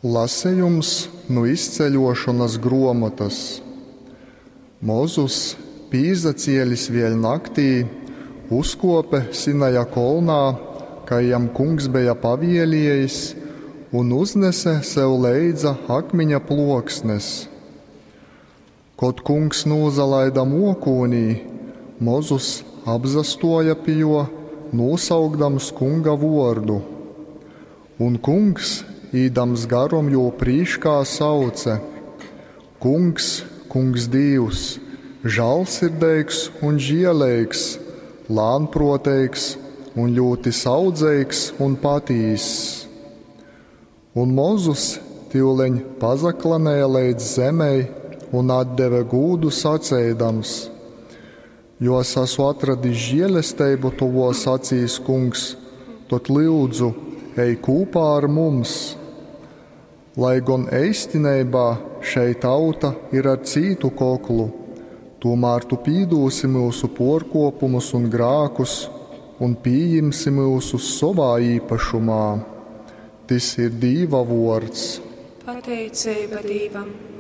Lasejums nu Izceļuošonys gruomotys. Mozus, pīzacielis vēļ naktī, uzkuope Sinaja kolnā, kai jam Kungs beja pavieliejis, un uznese sev leidza akmiņa pluoksnes. Kod Kungs nūzalaida muokūnī, Mozus apzastuoja pi juo, nūsaukdams Kunga vuordu. Un Kungs, īdams garom jū prīškā, sauce: Kungs, Kungs Dīvs, žālsirdeigs un žieleigs, lānpruoteigs un ļūti saudzeigs un patīss. Un Mozus tiuleņ pazaklanēja leidz zemei un atdeve gūdu saceidams: Jo es esmu atradis žielesteibu tovos acīs, Kungs, tod lyudzu, ej kūpā ar mums. Lai gon eistineibā šei tauta ir ar cītu koklu, tūmār tu pīdūsi myusu puorkuopumus un grākus un pījimsi myusus sovā īpašumā. Tys ir Dīva vuords. Pateiceiba Dīvam.